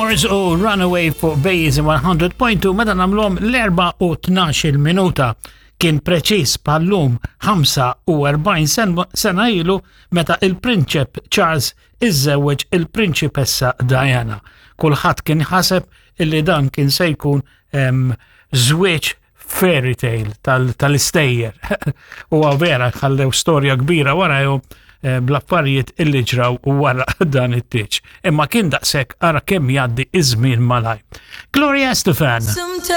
Doors u Runaway fuq Base 100.2 meta nagħmluhom l-4 u 12 minuta. Kien preċiż bħallum 45 sena ilu meta il-Prinċep Charles iżżewweġ il-Prinċipessa Diana. Kulħadd kien ħaseb illi dan kien se jkun żwieġ fairy tale tal-istejjer. U vera ħallew storja kbira warajhom eh, bl-affarijiet illi ġraw wara dan it-tieġ. Imma kien daqshekk ara kemm jgħaddi iż-żmien malaj. Gloria Estefan.